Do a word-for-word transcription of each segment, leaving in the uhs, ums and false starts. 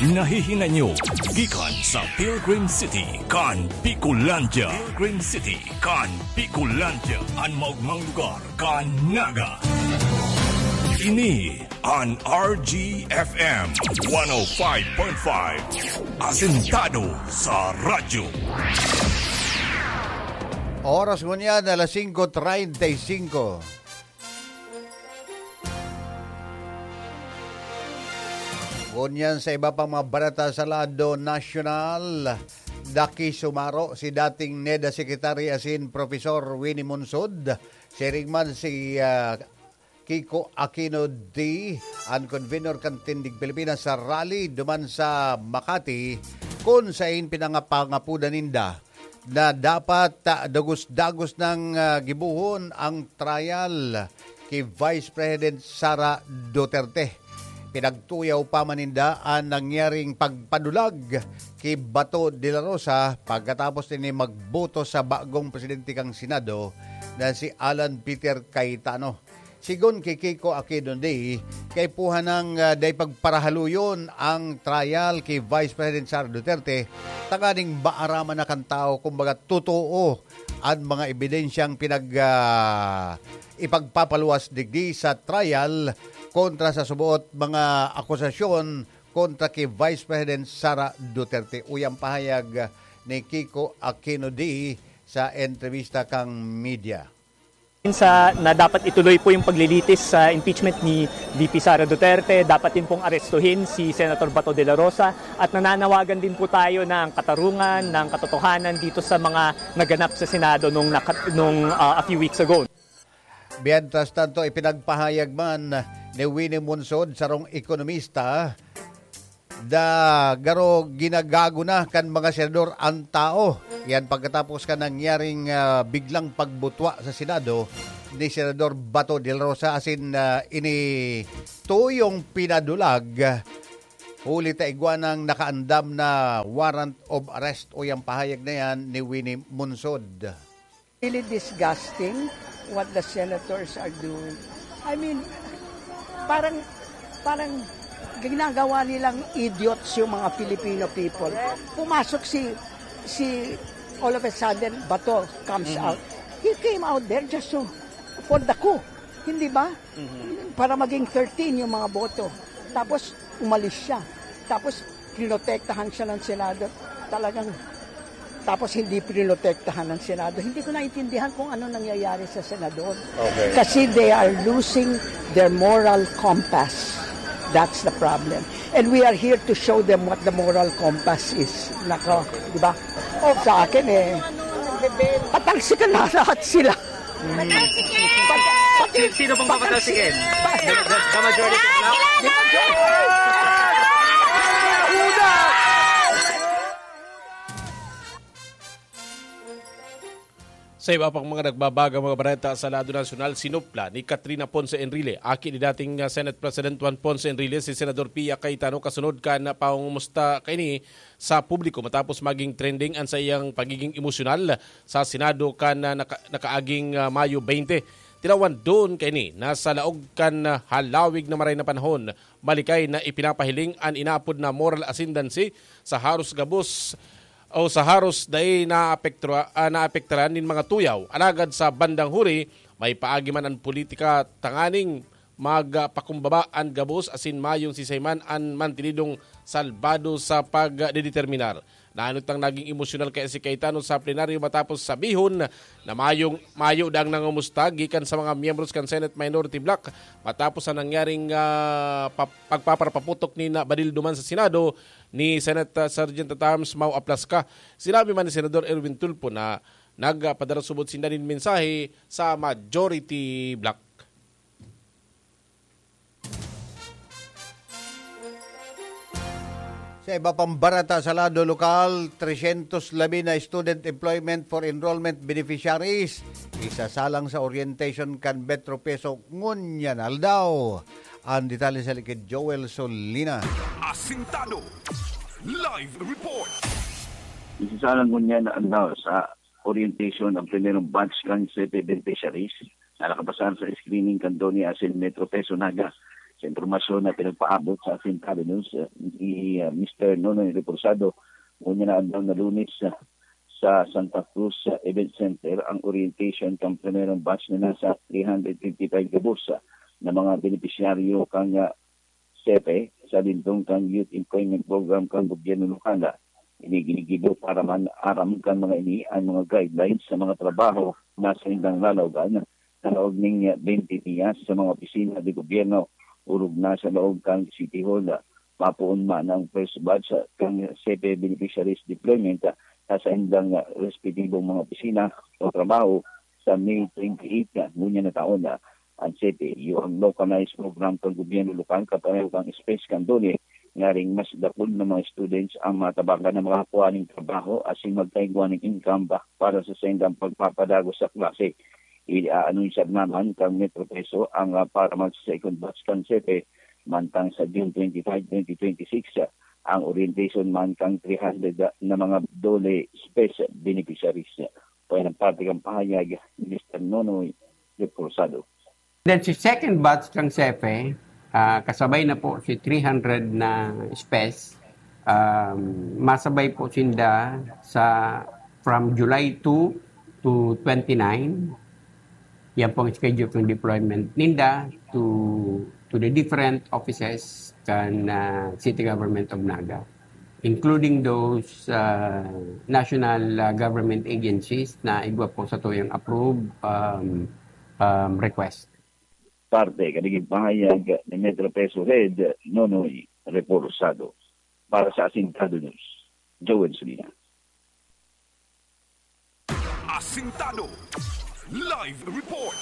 Nahihinanyo gikan sa Pilgrim City kan Bicolandia. Pilgrim City kan Bicolandia, an maogmang lugar kan Naga. Ini an R G F M one oh five point five, asentado sa radyo. Oras ngunyan, alas singko treinta y cinco. Ngunyan sa iba pang mga balita sa lado nasyonal, nakisumaro si dating NEDA Secretary asin Profesor Winnie Monsod. Siring man si, ah, Kiko Aquino D, an convenor kan Tindig Pilipinas sa rally duman sa Makati, kun sain pinangapangapodan ninda na dapat, ah, dagos-dagos nang, ah, gibohon ang trial ki Vice President Sara Duterte. Pinagtuyaw pa man ninda an nangyaring pagpadulag ki Bato de la Rosa pagkatapos nini magboto sa bagong presidente kan Senado na si Alan Peter Cayetano. Sigon ki Kiko Aquino D, kaipuhan nang, ah, dai pagparahaluyon ang trial ki Vice President Sara Duterte tanganing maaraman na kan tawo, kumbaga, totoo an mga ebidensyang pinag-, ah, ipagpapaluwas digdi sa trial kontra sa suboot mga akusasyon kontra ki Vice President Sara Duterte. Uya an pahayag ni Kiko Aquino D sa entrebista kan media. Sa, na dapat ituloy po yung paglilitis sa impeachment ni V P Sara Duterte, dapat din pong arestuhin si Senator Bato de la Rosa, at nananawagan din po tayo ng katarungan, ng katotohanan dito sa mga naganap sa Senado nung naka-, nung, ah, a few weeks ago. Mientras tanto, ipinagpahayag man ni Winnie Monsod, sarong ekonomista, da garo ginagago na kan mga senador an tao. Yan pagkatapos kan nangyaring, ah, biglang pagbutwa sa Senado ni Senador Bato de la Rosa, asin, ah, ini tuyong pinadulag, huli ta igwa nang nakaandam na warrant of arrest. O yang pahayag na yan ni Winnie Monsod. Really disgusting what the senators are doing. I mean, parang, parang ginagawa nilang idiots yung mga Filipino people. Pumasok si, si, all of a sudden, Bato comes out. He came out there just to, for the coup. Hindi ba? Para maging thirteen yung mga boto. Tapos, umalis siya. Tapos, pinotektahan siya ng Senado. Talagang, tapos hindi pinotektahan ng Senado. Hindi ko naintindihan kung ano nangyayari sa Senador. Okay. Kasi they are losing their moral compass. That's the problem. And we are here to show them what the moral compass is. Nako, di ba? Sa akin eh, patalsikan na lahat sila. Patalsikan! Pati, si-, sino pong papatalsikin? The, the, the majority of Black? Sa iba pang mga nagbabagang mga bareta sa lado nasyonal, sinupla ni Katrina Ponce Enrile, aki ni dating, ah, Senate President Juan Ponce Enrile, si Senador Pia Cayetano kasunod kan pangungumusta kaini sa publiko matapos maging trending an saiyang pagiging emosyonal sa Senado kan, ah, naka-, nakaaging, ah, Mayo twenty. Tinawan duon kaini na sa laog kan, ah, halawig na maray na panahon, malikay na ipinapahiling an inaapod na moral ascendancy sa haros gabos o sa haros dai naapektra-, ah, naapektaran nin mga tuyaw. Alagad sa bandang huri, may paagi man an politika tanganing magpakumbaba an gabos asin mayong sisay man an mantinidong salbado sa pagdedeterminar. Naanot nang naging emosyonal kaya si Cayetano sa plenaryo matapos sabihon na mayong, mayo daang nangomusta gikan sa mga miyembros kan Senate Minority Bloc matapos ang nangyaring, ah, pa-, pagpaparapaputok ni na Badil duman sa Senado ni Senate, ah, Sergeant at Arms Mau Aplasca. Sinabi man ni Senador Erwin Tulfo na nagpadarasubot sinda nin mensahe sa Majority Bloc. Sa iba pang bareta sa lado lokal, tresyentos labi na student employment for enrollment beneficiaries isasalang sa orientation kan Metro Peso ngunyan aldaw. Ang detalye sa likid Joel Solina. Asintado. Live report. Isasalang ngunyan na aldaw sa orientation ang primerong batch kan sete beneficiaries na nakapasar sa screening kan DONE asin Metro Peso Naga. Sa impormasyon na pinagpaabot sa Asintado News, uh, ni uh, Mister Nonoy Reposado, ngunyan na adlaw na Lunes, uh, sa Santa Cruz uh, Event Center ang orientation kan primerong batch na nasa three hundred fifty-five gabos uh, na mga benepisyaryo kan uh, SEPE sa lindong kan Youth Employment Program kan gobyerno lokal. Ini ginigibo para man aram kan mga ini ang mga guidelines sa mga trabaho na sa indang lalawagan sa laog ning twenty dias sa mga opisina de gobyerno. Orog na sa laog kan City Hall, mapoon man ang first batch kan SEPE beneficiaries deployment sa saindang respetibong mga opisina o trabaho sa May twenty-eight ngunyan na taon. Ang SEPE, iyo ang localized program kan gobyerno lokal kapareho kan space kan DOLE, ngaring mas dakul na mga students ang matabangan na makakua ning trabaho asin magkaigwa ning income ba para sa saindang pagpapadagos sa klase. Iaanunsiyar naman kan Metro Peso ang ah, para mag second batch kan SEPE mantang sa June twenty-five, twenty twenty-six, ah, ang orientation man kan three hundred na mga DOLE space beneficiaries. Payan ang parte kan pahayag ni Mister Nonoy Reposado. Then si second batch kan SEPE, ah, kasabay na po si three hundred na SPES. Um, masabay po sinda sa from July two to twenty-nine. Yan po ang schedule ng deployment ninda to to the different offices kan ah, City Government of Naga, including those ah, national ah, government agencies na igwa po sa tuyang approved um, um, request. Parte kan naging pahayag ni Metro Peso Head Nonoy Reposado. Para sa Asintado News, Joel Sulina. Asintado Live Report.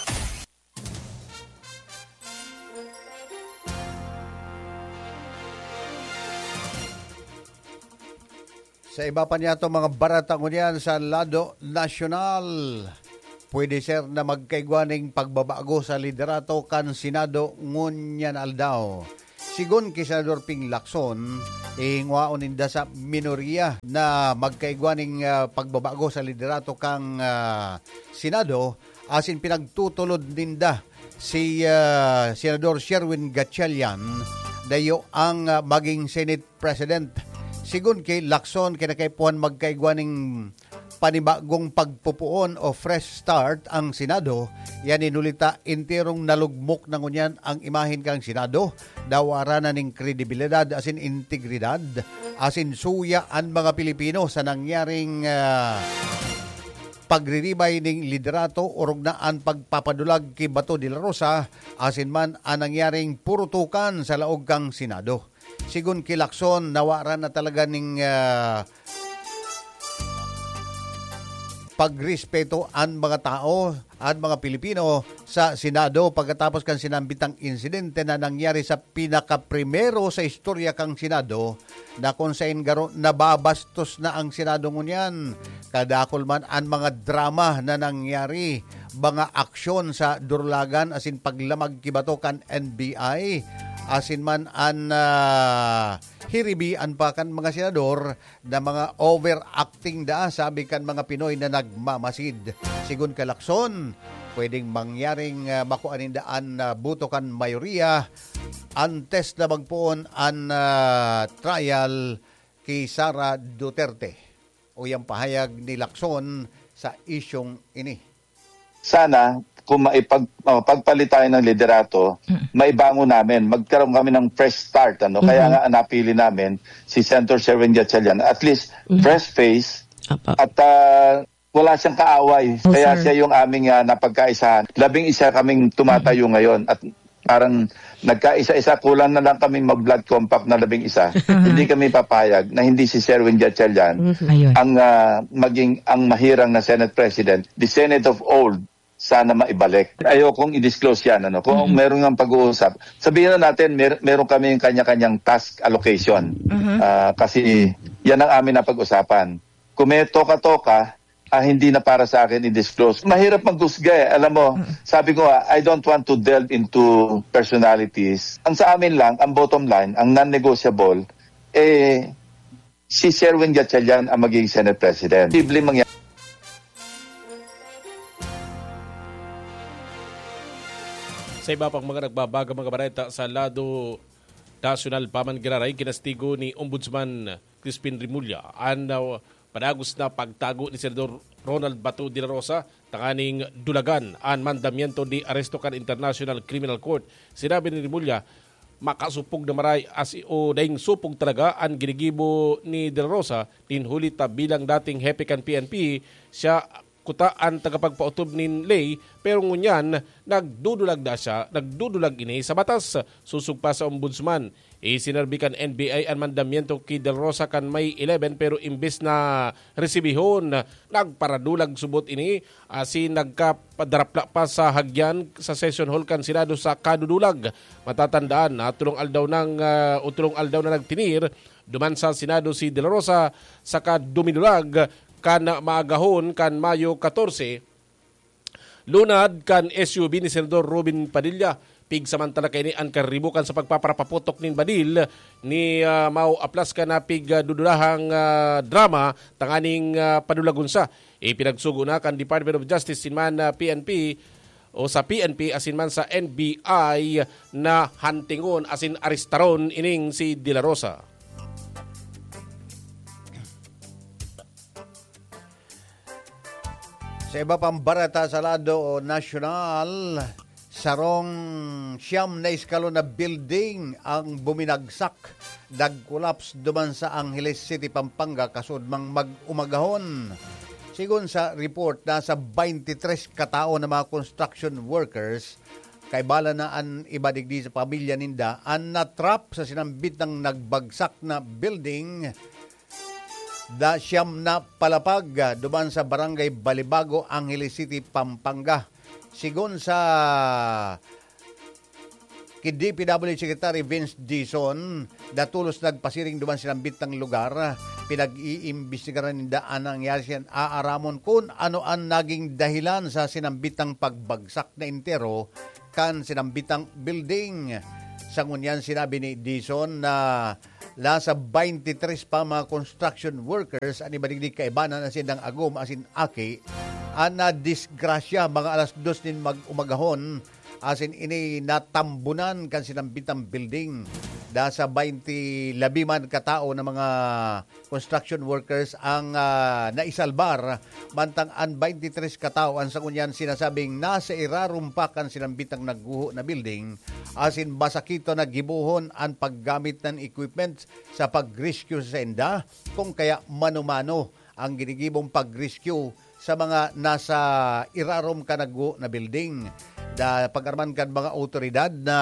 Sa iba pa niyato mga barata ngunyan sa lado nasyonal, pwede ser na magkaigwa ning pagbabago sa liderato kan Senado ngunyan aldaw. Sigon ki Senador Ping Lacson, ihingwaon ninda sa minorya na magkaigwa ning ah, pagbabago sa liderato kan ah, Senado asin pinagtutulod ninda si ah, Senador Sherwin Gatchalian dayo ang ah, maging Senate President. Sigon ki Lacson, kinakaipuhan magkaigwa ning panibagong pagpupuon o fresh start ang Senado, yan inuli ta enterong nalugmok na ngunyan ang imahen kan Senado, dawa na ning kredibilidad asin integridad, asin suya an mga Pilipino sa nangyaring ah, pagriribay ning liderato orog na an pagpapadulag ki Bato de la Rosa asin man an nangyaring purutukan sa laog kan Senado. Sigon ki Lacson, nawaran na talaga ning ah, pagrespeto an mga tao, an mga Pilipino sa Senado pagkatapos kan sinambitang insidente na nangyari sa pinakaprimero sa istorya kan Senado na kung sain garo nababastos na ang Senado ngunyan. Kadakul man an mga drama na nangyari, mga aksyon sa durulagan asin paglamag ki Bato kan N B I, asin man an ah, hiribian pa kan mga senador na mga overacting da, sabi kan mga Pinoy na nagmamasid. Sigon ka Lacson, pwedeng mangyaring ah, makua ninda an ah, boto kan mayoriya antes na magpoon an ah, trial ki Sara Duterte. Uyang pahayag ni Lacson sa isyong ini. Sana kung maipag, uh, pagpalit tayo ng liderato, maibangon namin, magkaroon kami ng fresh start. Ano? Kaya nga napili namin si Senator Sherwin Gatchalian. At least, fresh face. At uh, wala siyang kaaway. Kaya siya yung aming uh, napagkaisahan. Labing isa kaming tumatayo ngayon. At parang nagkaisa-isa, kulang na lang kaming mag-blood compact na labing isa. Hindi kami papayag na hindi si Sherwin Gatchalian ang uh, maging ang mahirang na Senate President. The Senate of old, sana maibalik. Ayokong i-disclose yan. Ano? Kung meron nga pag-uusap, sabihin na natin, mer- meron kami yung kanya-kanyang task allocation. Uh, kasi yan ang amin na pag-usapan. Kung may toka-toka, ah, hindi na para sa akin i-disclose. Mahirap maghusga eh. Alam mo, sabi ko, ah, I don't want to delve into personalities. Ang sa amin lang, ang bottom line, ang non-negotiable, eh, si Sherwin Gatchalian ang magiging Senate President. Posibleng mangyari. Sa iba pang mga nagbabagang mga bareta sa lado nasyonal pa man giraray, kinastigo ni Ombudsman Crispin Remulla an, ah, padagos na pagtago ni Senador Ronald Bato de la Rosa tanganing dulagan an mandamiento de aresto kan International Criminal Court. Sinabi ni Remulla, makasupog na maray as o daing supog talaga an ginigibo ni De La Rosa, nin huli ta bilang dating hepe kan P N P, siya kuta an tagapagpaotob nin ley, pero ngunyan nagdudulag na siya, nagdudulag ini sa batas. Sosog pa sa Ombudsman, isinerbi kan N B I an mandamiento ki De La Rosa kan May eleven, pero imbes na resibihon, nagparadulag subot ini, asin nagkapadarapla pa sa hagyan sa session hall kan Senado sa kadudulag. Matatandaan na tulong aldaw nang, ah, o tulong aldaw na nagtinir duman sa Senado si De La Rosa, saka dumidulag kan maagahon kan Mayo katorse, lunad kan S U V ni Senador Robin Padilla. Pigsamantala kaini an karibukan sa pagpaparapaputok nin badil ni, ah, Mao Aplasca na pigdudurahang, ah, drama tanganing, ah, padulagon sa. Ipinagsugo na kan Department of Justice sin man, ah, P N P o sa P N P asin man sa N B I na hantingon asin arestaron ining si De La Rosa. Sa iba pang bareta sa lado nasyonal, sarong siyam na eskalon na building ang buminagsak, nag-collapse duman sa Angeles City, Pampanga, kasudmang mag-umagahon. Sigon sa report, nasa twenty-three katao na mga construction workers, kaiba na an iba digdi sa pamilya ninda, an natrap sa sinambit na nagbagsak na building da siyam na palapag, ah, duman sa Barangay Balibago, Angeles City, Pampanga. Sigon sa ki D P W Secretary Vince Dizon, datolos nagpasiring duman sinambit na lugar. Pinag-iimbestigaran ninda an nangyari, siya aaramon kun ano an naging dahilan sa sinambit na pagbagsak na entero kan sinambit na building. Sa ngunyan, sinabi ni Dizon na nasa twenty-three pa mga construction workers an iba digdi kaibanan na sindang agom asin aki an nadisgrasya mga alas dos nin mag-umagahon, asin ini natambunan kan sinambit na building. Nasa twenty labi man katao na mga construction workers ang, ah, naisalbar, mantang an twenty-three katao an sa ngunyan sinasabing nasa irarom pa kan sinambit na nagguho na building, asin masakit na gibohon an paggamit na equipment sa pag-rescue sa sainda, kung kaya mano-mano ang ginigibong pag-rescue sa mga nasa irarom kan nagguho na building. Da, pag-arman kan mga awtoridad na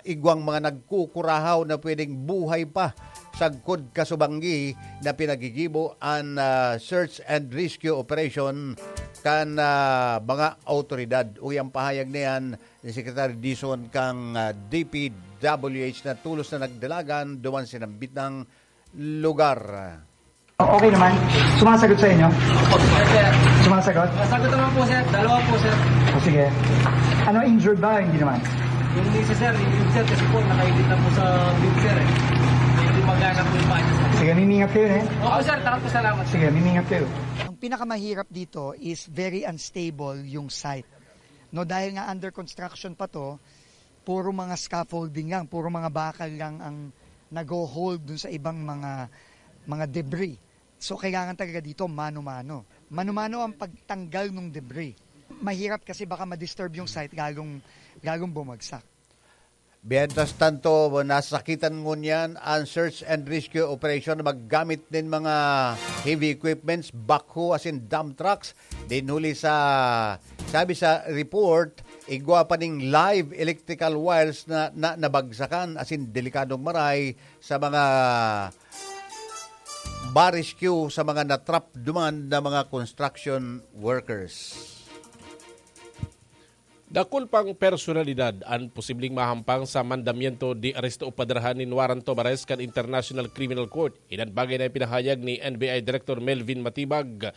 igwang mga nagkukurahaw na pwedeng buhay pa sagkod kasubanggi na pinagigibo an, ah, search and rescue operation kan, ah, mga awtoridad. Uwi ang pahayag na yan ni Secretary Dizon kang, ah, D P W H na tolos na nagdalagan duman sinambit na lugar. Okay naman. Sumasagot sa inyo? Yes, sir. Sumasagot? Nasagot naman po, sir. Dalawa po, sir. O, sige. Ano, injured ba? Hindi naman. Yung isa, sir, yung sir, kasi po, nakaigit na po sa bed, sir, eh. Medyo magana po yung paa niya, sir. Sige, mimingat kayo, eh. Opo, sir. Tara po, salamat. Sige, mimingat kayo. Ang pinakamahirap dito is very unstable yung site. No, dahil nga under construction pa 'to, puro mga scaffolding lang, puro mga bakal lang ang nagho-hold dun sa ibang mga, mga debris. So, kailangan talaga dito mano-mano. Mano-mano ang pagtanggal ng debris. Mahirap kasi baka ma-disturb yung site, lalong, lalong bumagsak. Mientras tanto, nasakitan ngunyan ang search and rescue operation na maggamit nin mga heavy equipments, backhoe asin dump trucks. Din huli sa, sabi sa report, igwa pa ning live electrical wires na, na nabagsakan asin delikadong maray sa mga ba-rescue sa mga natrap duman na mga construction workers. Dakul pang personalidad an posibleng mahampang sa mandamiento de aresto o padrahan nin warrant of arrest kan International Criminal Court. Iyan bagay na ipinahayag ni N B I Director Melvin Matibag.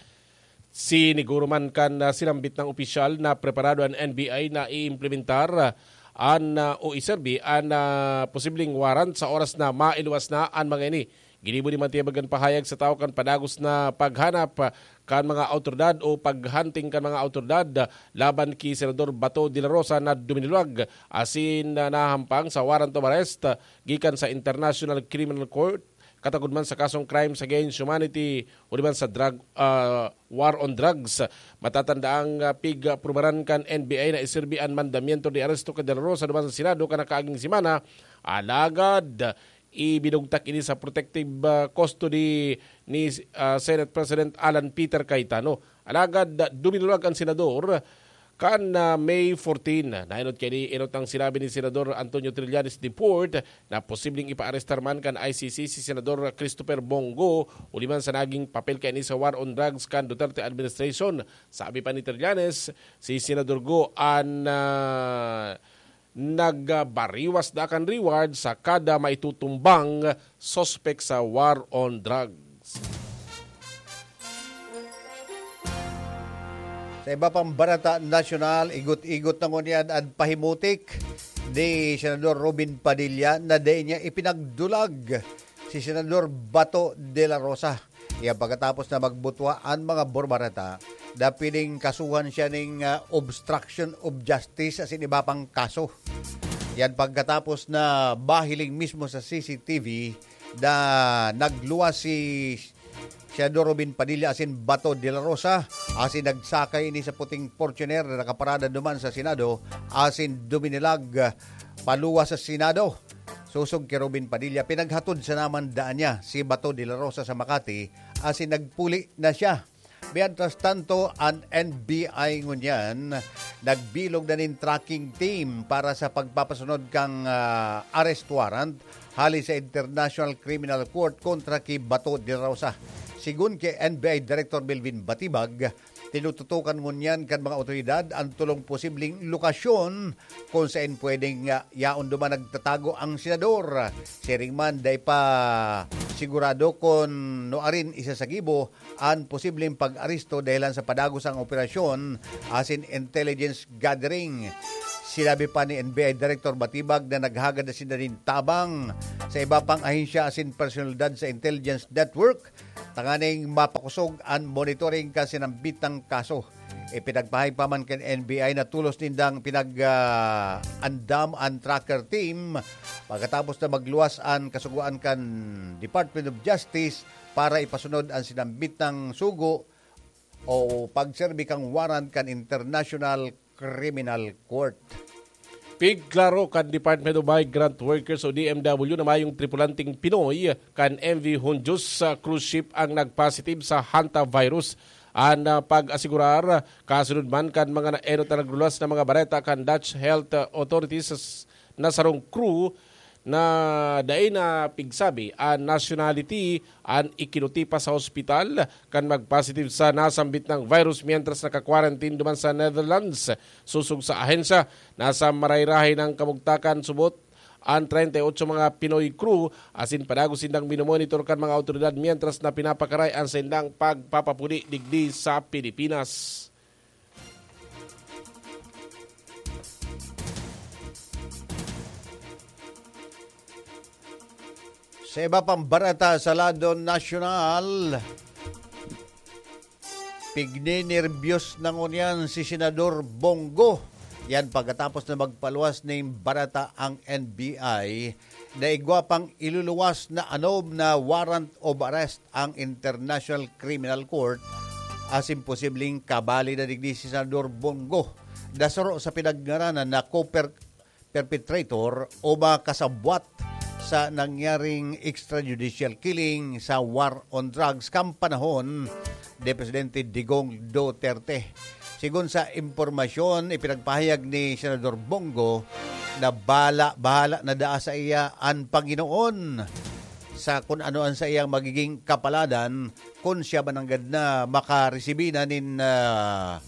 Siniguro man kan, ah, sinambit na opisyal na preparado an N B I na iimplementar, ah, an, ah, o iserbi an, ah, posibleng warrant sa oras na mailuwas na an mga ini. Ginibo ni Matibag an pahayag sa tawo kan padagos na paghanap, ah, kan mga awtoridad o paghunting kan mga awtoridad, ah, laban ki Senador Bato de la Rosa na duminulag asin, ah, nahampang sa warrant of arrest, ah, gikan sa International Criminal Court, katagod man sa kasong crimes against humanity o di man sa drug, ah, war on drugs. Matatanda ang, ah, pig-, ah, prubaran kan N B I na iserbi an mandamiento de aresto kan De La Rosa duman sa Senado kan nakaaging semana. Alagad, ibinugtak ini sa protective, ah, custody ni, ah, Senate President Alan Peter Cayetano. Alagad, ah, duminulag ang senador kan, ah, May fourteen. Naenot kaini, enot ang sinabi ni Senador Antonio Trillanes de Port na posibleng ipaarestar man kan I C C si Senador Christopher Bong Go, huli man sa naging papel kaini sa war on drugs kan Duterte administration. Sabi pa ni Trillanes, si Senador Go an, ah, nagbariwas na kan reward sa kada maitutumbang suspek sa war on drugs. Sa iba pang barata nasyonal, igot-igot na ngunyan an pahimutik ni Senador Robin Padilla na dai niya ipinagdulag si Senador Bato de la Rosa. Yan pagkatapos na magbutwa an mga borbareta na piling kasuhan siya ning, ah, obstruction of justice asin iba pang kaso. Yan pagkatapos na bahiling mismo sa C C T V na nagluwas si Senador Robin Padilla asin Bato de la Rosa asin nagsakay ini sa puting Fortuner na nakaparada duman sa Senado asin duminulag paluwas sa Senado. Sosog ki Robin Padilla, pinaghatod sa naman daan niya si Bato de la Rosa sa Makati asin nagpuli na siya. Mientras tanto, an N B I ngunyan nagbilog na nin tracking team para sa pagpapasunod kan, ah, arrest warrant hali sa International Criminal Court kontra ki Bato de la Rosa. Sigon ki N B I Director Melvin Batibag, tinututukan ngunyan kan mga otoridad an tolong posibleng lokasyon kung saen pwedeng, ah, yaon duman nagtatago ang senador. Siring man, dai pa sigurado kun nuarin isa sa gibo an posibleng pag-aresto dahelan sa padagos ang operasyon asin intelligence gathering. Sinabi pa ni N B I Director Batibag na naghagad na sinda nin tabang sa iba pang ahensya asin personalidad sa intelligence network tanganing mapakosog an monitoring kan sinambitang kaso. Ipinagpahayag pa man kan N B I na tolos nindang pinag, ah, andam an tracker team pagkatapos na magluwas an kasugoan kan Department of Justice para ipasunod an sinambitang sugo o pagserbi kan warrant kan International Criminal Court. Pigklaro kan Department of Migrant Workers o D M W na mayong tripulanteng Pinoy kan M V Hondius sa cruise ship ang nagpositive sa hantavirus. An, ah, pag-asigurar, kasunod man kan mga naenot na nagluwas na mga bareta kan Dutch health, ah, authorities sa s-, na sarong crew na dai na pigsabi an nationality an ikinuti pa sa hospital kan magpositive sa nasambit na virus mientras naka-quarantine duman sa Netherlands. Sosog sa ahensya, nasa marayrahay nang kamugtakan subot an treinta y ocho mga Pinoy crew asin padagos sindang minomonitor kan mga awtoridad mientras na pinapakaray an saindang pagpapapuli digdi sa Pilipinas. Sa iba pang bareta sa lado nasyonal, pignenerbyos na ngunyan si Senador Bong Go. Yan pagkatapos na magpaluwas nin bareta ang N B I na igwa pang iluluwas na anob na warrant of arrest ang International Criminal Court asin posibleng kabali na digdi si Senador Bong Go na saro sa pinagngaranan na co-per-, perpetrator o makasabwat sa nangyaring extrajudicial killing sa war on drugs kan panahon ni Presidente Digong Duterte. Sigon sa impormasyon, ipinagpahayag ni Senador Bong Go na bala-, bahala na daa sa iya an Panginoon sa kun ano an saiyang magiging kapaladan kun siya man nanggad na makaresibi na nin, ah,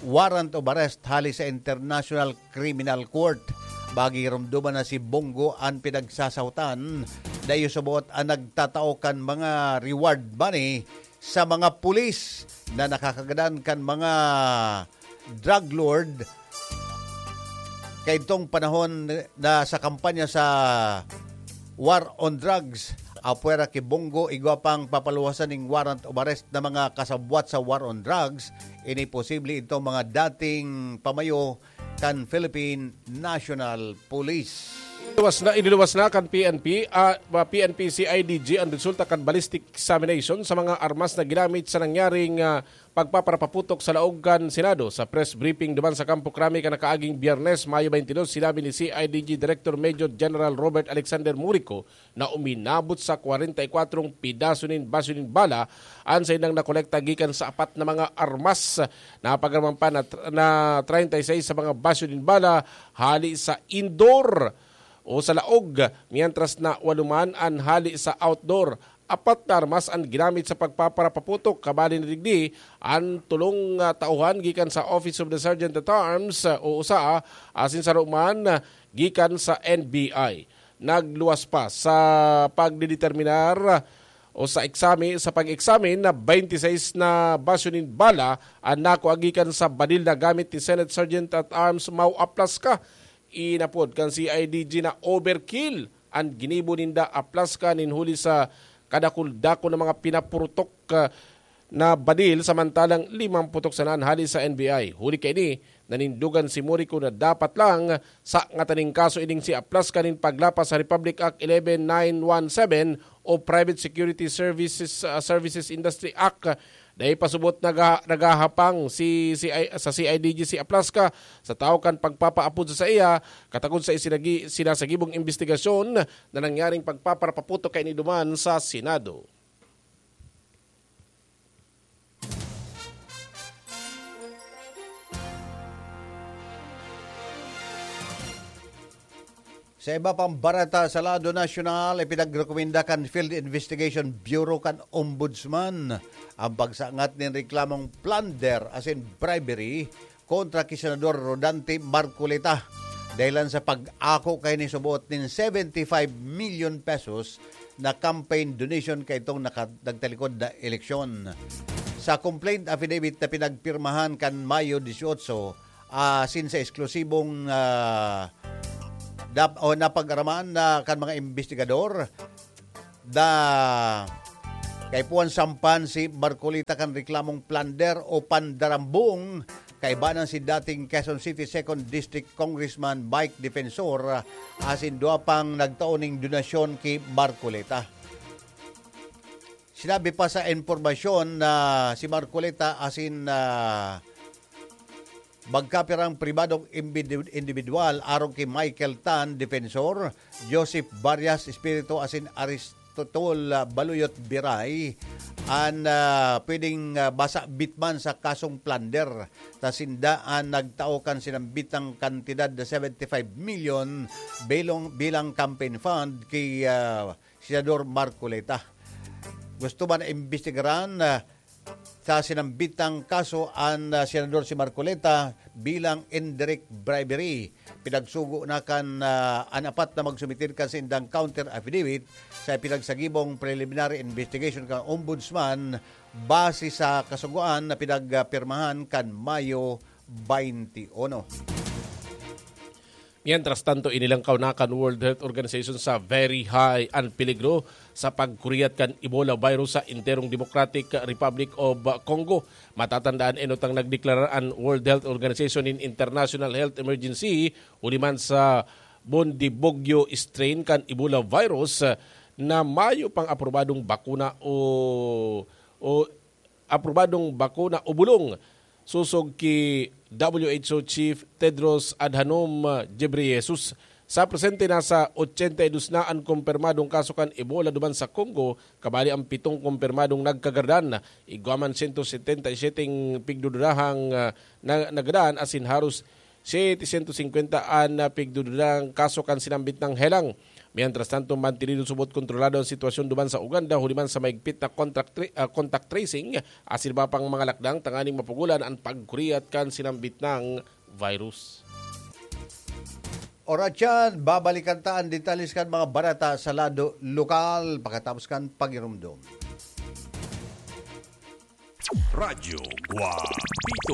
warrant of arrest hali sa International Criminal Court. Pagiromdoman na si Bong Go an pinagsasahotan, dayo sa buot an nagtatao kan mga reward money sa mga pulis na nakakagadan kan mga drug lord kaidtong panahon na sa kampanya sa war on drugs apwera ki Bongo, igwa pang papaluwasan ning warrant of arrest na mga kasabwat sa war on drugs. Ini posible itong mga dating pamayo kan Philippine National Police. Iniluwas na, iniluwas na kan P N P, ah, P N P C I D G ang resulta kan ballistic examination sa mga armas na ginamit sa nangyaring, ah, pagpaparapaputok sa laog kan Senado. Sa press briefing duman sa Kampo Krami kan nakaaging Biyernes, Mayo twenty-two, sinabi ni C I D G Director Major General Robert Alexander Murico na uminabot sa kwarenta y kwatro pidaso nin basyo nin bala an saindang nakolekta gikan sa apat na mga armas. Napag-araman pa na, na treinta y seis sa mga basyo nin bala hali sa indoor o sa laog, mientras na walo man an hali sa outdoor. Apat na armas an ginamit sa pagpaparapaputok, kabali na digdi an tolong, ah, tauhan gikan sa Office of the Sergeant at Arms, ah, o usa, ah, asin saro man, ah, gikan sa N B I. Nagluwas pa sa pagdedeterminar o sa eksami-, sa pag-eksamin na twenty-six na basyo nin bala an nakua gikan sa badil na gamit ni Senate Sergeant at Arms Mau Aplasca. Inapod kan C I D G na overkill an ginibo ninda Aplasca nin huli sa kadakul-dakul na mga pinapurutok, ah, na badil, samantalang limang putok sana an hali sa N B I. Huli kaini, nanindogan si Murico na dapat lang sa ngataning kaso ining si Aplasca nin paglapas sa Republic Act eleven nine one seven o Private Security Services, ah, Services Industry Act. Dai pa subot naga-, nagahapang si, si I-, sa C I D G si Aplasca sa tawo kan pagpapaapod sa saiya, katagod sa isinagi-, sinasagibong imbestigasyon na nangyaring pagpaparapaputok kaini duman sa Senado. Sa iba pang bareta sa lado nasyonal, ipinagrekomenda kan Field Investigation Bureau kan Ombudsman ang pagsangat nin reklamong plunder asin bribery kontra ki Senador Rodante Marcoleta. Dahilan sa pag-ako kaini subot nin seventy-five million pesos na campaign donation kaitong naka-, nagtalikod na eleksyon. Sa complaint affidavit na pinagpirmahan kan Mayo dieciocho, asin sa eksklusibong, ah, dap-, o napag-araman na kan mga imbestigador, da-, kaipuhan sampan si Marcoleta kan reklamong plunder o pandarambong, kaiba na si dating Quezon City Second District Congressman Mike Defensor, asin duwa pang nagtao ning donasyon ki Marcoleta. Sinabi pa sa impormasyon na si Marcoleta asin, ah, magkapirang pribadong imbidi-, individual arog ki Michael Tan, Defensor, Joseph Varias, Espiritu, asin Aristotle, ah, Baluyot Biray, an, ah, pwedeng, ah, masabit man sa kasong plunder. Ta sinda an nagtao kan sinambitang kantidad na seventy-five million bilong, bilang campaign fund ki, ah, Senador Marcoleta. Gusto man imbestigaran, ah, sa sinambitang kaso an, ah, Senador si Marcoleta bilang indirect bribery. Pinagsugo na kan, ah, an apat na magsumitir kan saindang counter affidavit sa pinagsagibong preliminary investigation kan Ombudsman base sa kasugoan na pinagpirmahan kan Mayo twenty-one. Mientras tanto, inilangkaw na kan World Health Organization sa very high an peligro sa pagkuriyat kan Ebola virus sa enterong Democratic Republic of Congo. Matatandaan, enot ang nagdeklarar an World Health Organization nin international health emergency huli man sa Bundibugyo strain kan Ebola virus na mayo pang aprobadong bakuna o, o aprobadong bakuna o bulong, sosog ki W H O Chief Tedros Adhanom Ghebreyesus. Sa presente, nasa ochenta y dos na an kumpirmadong kaso kan Ebola duman sa Congo, kabali ang pitong kumpirmadong nagkagaradan. Igwa man sento setenta y siyete pigdududahang, ah, na, nagdan asin haros setecientos cincuenta an, ah, pigdududahang kaso kan sinambit na helang. Mientras tanto, mantinido subot kontrolado ang sitwasyon duman sa Uganda, huli man sa maigpit na contact tra-, ah, contact tracing asin iba pang mga lakdang tanganing mapugolan an pagkuriyat kan sinambit na virus. Oras yan, babalikan ta an detalye kan mga bareta sa lado lokal pakatapos kan pagirumdom. Radyo Guapito.